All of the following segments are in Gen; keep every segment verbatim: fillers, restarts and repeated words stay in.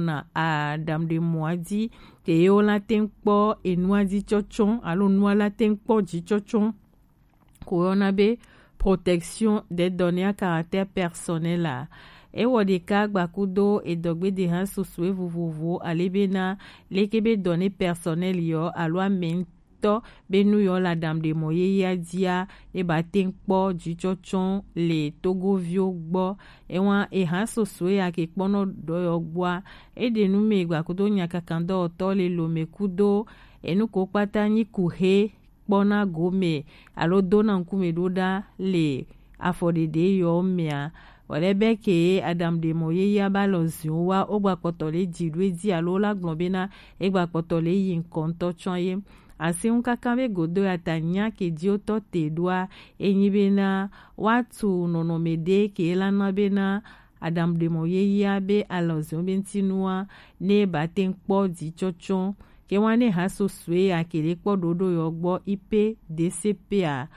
na adamɖemɔa ji, ke ye wo la teŋ kpɔ enua ji tsɔtsɔ alo nua la teŋ kpɔ ji tsɔtsɔ, ko yɔna be protection des données à caractère personnel a. Ewɔ ɖeka gbakudo edɔgbedeha sosoe vovovo ale bena leke be données personnelles yɔ alo amɛŋutɔ be nu yɔ le adamɖemɔ yeyea jia, ne ba teŋ kpɔ jitsɔtsɔ le togoviwo gbɔ. Ewa eha sosoe ya ke kpɔnɔ dɔ yɔ gbɔa, eɖe nu me gbakudo nyakakandɔwɔtɔ le lome kudo enu ko kpata nyi kuhe kpɔna gome alo dona ŋkume ɖo ɖa le afɔɖeɖe yɔ mea. Wòle be ke adamɖemɔ yeyea ba lɔ ziwo wa wo gba kpɔtɔ le ji ɖo edzi alo la gblɔ bena e gba kpɔtɔ le yi ŋkɔ ŋutɔ tsɔ ye. Asi ŋu kaka be godo ya ta nya ke ji wotɔ te ɖoa, enyi bena woatu nɔnɔme ɖe ke la na bena adamɖemɔ yeyea be alɔzɔn be ŋutinua ne ba teŋ kpɔ jitsɔtsɔ. Ke wa ne ha sosoe ya ke le kpɔ ɖoɖo yɔ gbɔ I P D C P a.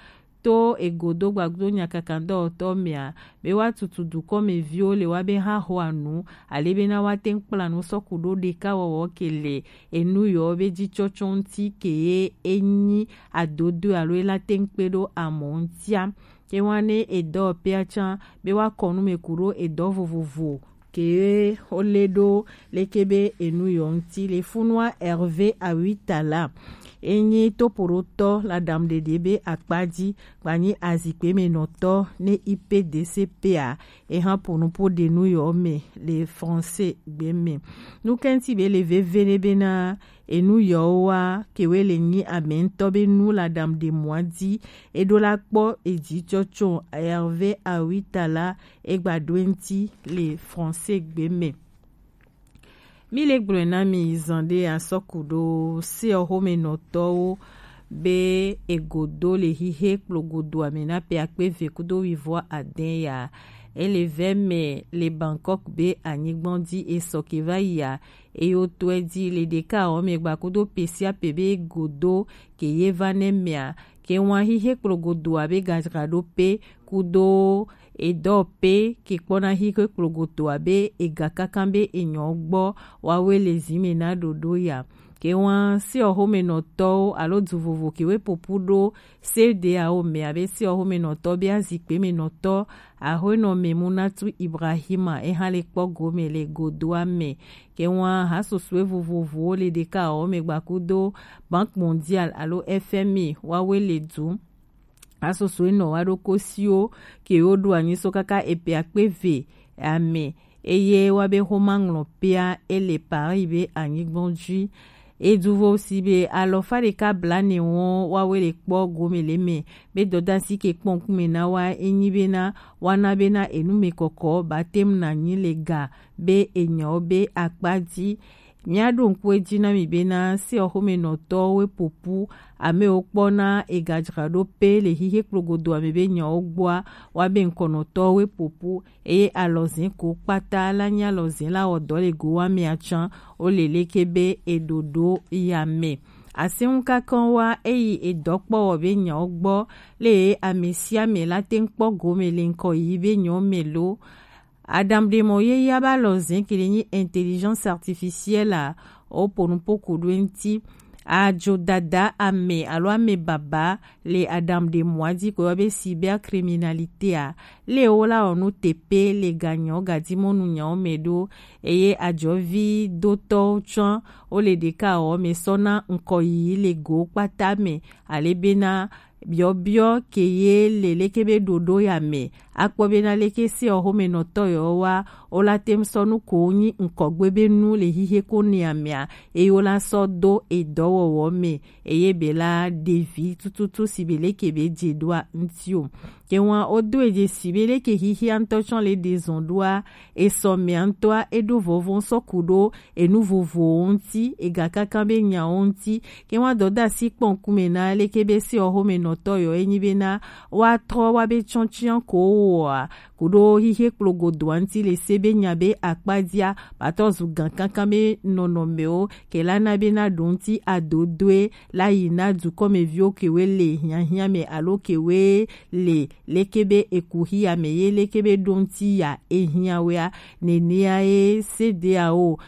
To egodo gbagdo nyakakandɔwɔtɔ mea, be wa tutu dukɔmeviwo le wa be ha xɔ anu, ale bena wa teŋ kpla nu sɔku ɖo ɖeka wɔwɔ ke le enu yɔ be jitsɔtsɔ ŋuti ke ye enyi adodo alo ela teŋ kpe ɖo amɔ ŋutia. Ke wa ne edɔ pea tsan be wa kɔ nu me ku ɖo edɔ vovovo ke wo le ɖo leke be enu yɔ ŋuti le funua Hervé Awitala. Enyi topoɖotɔ le adamɖeɖe be akpa ji, gbanyi azikpe me nɔtɔ ne I P D C P a, eha ponupo ɖe nu yɔ me le français gbe me. Nu kɛnti be le veve ne bena enu yɔwo wa ke we le nyi amɛŋutɔ be nu le adamɖemɔa ji, eɖo la kpɔ eji tsɔtsɔ Hervé Awitala egba ɖo eŋuti le français gbe me. Mi le gblɔe na mi zan ɖe asɔku ɖo seɔ xome nɔtɔwo be egodo le xixe kplogodoa me na pe akpe eve kudo wivɔ adɛn ya. Ele vɛ me le Bangkok be anyigbɔn ji esɔ ke va yia, eye wotɔe ji le ɖeka awɔ me gba kudo pe sia pe be godo ke ye va ne mea, ke wan xixe kplogodoa be gadzraɖo pe kudo edɔ pe ke kpɔna xixe kplogodoa be ega kankan be enyɔ gbɔ wawe le zi me na ɖoɖo ya. Ke wan seɔ xome nɔtɔwo alo du vovo ke we popu ɖo se de awo me abe seɔ xome nɔtɔ be azikpe me nɔtɔ, axɔenɔ me Munatu Ibrahima eha le kpɔ gome le godoa me. Ke wan ha sosoe vovovowo le ɖeka awɔ me gba kudo Banque Mondiale alo F M I wawe le du. Ha sosoe nɔ wa ɖo kosiwo ke wo ɖo anyi so kaka epe akpe ve ame, eye wa be xoma ŋlɔ pea ele Paris be anyigbɔn ji. Eduvo si be alɔfa ɖeka blane wɔn wawe le kpɔ gome le me be dɔdasi ke kpɔ ŋkume na wa enyi bena wana bena enu me kɔkɔ batem na nyi le ga be enyawo be akpa ji. Mia ɖo ŋku edzi na mi bena seɔ xome nɔtɔwo we popu, amewo kpɔna egadzraɖo pe le xixe kplogodoa me be nyawo gbɔa, wa be ŋkɔnɔtɔwo we popu, eye alɔzin ko kpata la nyi alɔzin la wɔ dɔ le go wa mea tsan wo le leke be eɖoɖo ya me. Aseŋu kakɔn wa eyi edɔkpɔwɔ be nyawo gbɔ le ame sia ame la teŋ kpɔ gome le ŋkɔ yi be nyawo me lo. Adamɖemɔ yeyea ba lɔzin ke le nyi intelligence artificielle a, wo ponupo ku ɖo eŋuti. Ajo dada ame alo ame baba le adamɖemɔa ji ko yɔ be cybercriminalité a, le wo la wɔ nu tepe le ganyɔ gadimɔnu nyawo me ɖo, eye ajɔvi dotɔwo tsɔ wo le ɖeka wɔ me sɔ na ŋkɔ yi le go kpata me, ale bena biɔbiɔ ke ye le leke be ɖoɖo ya me, akpɔ bena leke seɔ xome nɔtɔ yɔ wa wo la tem sɔ nu ko nyi ŋkɔgbe be nu le xixe ko nea mea, eye wo la sɔ do edɔwɔwɔ me, eye be la ɖevi tututu si be leke be dze ɖoa ŋuti o. Ke wan wo do edze si be leke xixia ŋutɔ tsɔ le ɖe zɔn ɖoa, esɔ mea ŋutɔa eɖo vɔvɔ sɔ ku ɖo enu vovowo ŋuti, ega kankan be nyawo ŋuti. Ke wa dɔdasi kpɔ ŋkume na leke be seɔ xome nɔtɔ yɔ enyi bena wa trɔ wa be tsɔtsian ko Oa kuɖo xixi kplogodoa ŋuti le se be nya be akpadia batɔ zu gan kankan be nɔnɔmewo ke la na be na ɖo ŋuti adodoe la yi na dukɔmeviwo kewe le hiahiã me alo kewe le leke be eku xia me ye leke be ɖo ŋuti ya ehiã wea. Nenea ye sedeawo